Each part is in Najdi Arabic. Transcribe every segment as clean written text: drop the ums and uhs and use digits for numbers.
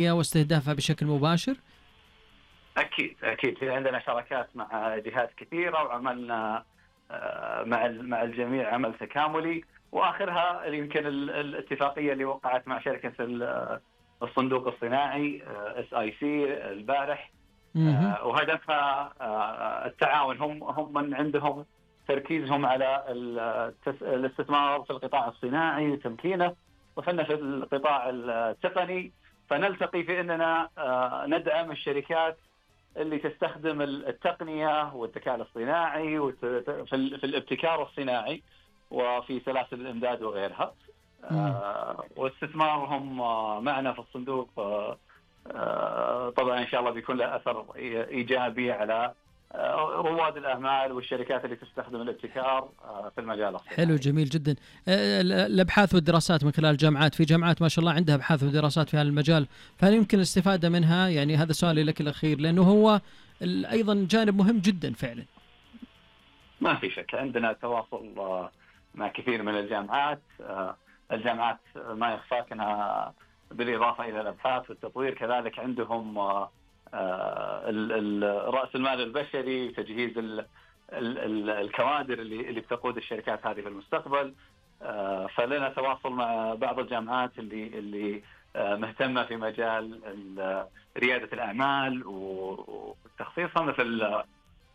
واستهدافها بشكل مباشر؟ أكيد في عندنا شراكات مع جهات كثيرة، وعملنا مع الجميع عمل تكاملي، وآخرها يمكن الاتفاقية اللي وقعت مع شركة الصندوق الصناعي SIC البارح، وهدفها التعاون. هم من عندهم تركيزهم على الاستثمار في القطاع الصناعي وتمكينه، وحنا في القطاع التقني، فنلتقي في أننا ندعم الشركات اللي تستخدم التقنية والذكاء الاصطناعي في الابتكار الصناعي وفي سلاسل الإمداد وغيرها. واستثمارهم معنا في الصندوق طبعا إن شاء الله بيكون له أثر إيجابي على رواد الأعمال والشركات اللي تستخدم الابتكار في المجال الصناعي. حلو، جميل جدا. الأبحاث والدراسات من خلال الجامعات، في جامعات ما شاء الله عندها أبحاث ودراسات في هذا المجال، فهل يمكن الاستفادة منها؟ يعني هذا سؤالي لك الأخير، لأنه هو أيضا جانب مهم جدا فعلا. ما في شك عندنا تواصل مع كثير من الجامعات. الجامعات ما يخفاك أنها بالإضافة إلى الأبحاث والتطوير كذلك عندهم رأس المال البشري وتجهيز الكوادر اللي بتقود الشركات هذه في المستقبل. فلنا تواصل مع بعض الجامعات اللي مهتمة في مجال ريادة الأعمال وتخصيصها، مثل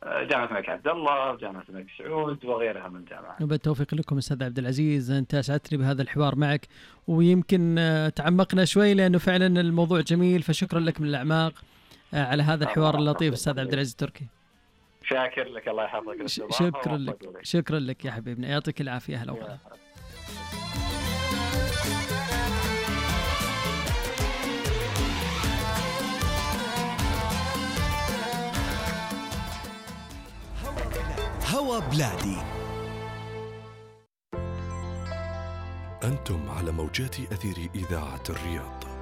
جامعة الملك عبد الله وجامعة الملك سعود وغيرها من الجامعات. بالتوفيق لكم أستاذ عبد العزيز، أنت أسعدتني بهذا الحوار معك، ويمكن تعمقنا شوي لأنه فعلا الموضوع جميل، فشكرا لك من الأعماق على هذا الحوار اللطيف أستاذ عبد العزيز التركي. شاكر لك، الله يحفظك. شكرا لك يا حبيبنا، يعطيك العافية. أهلا وسهلا. هوا بلادي. أنتم على موجات أثير إذاعة الرياض.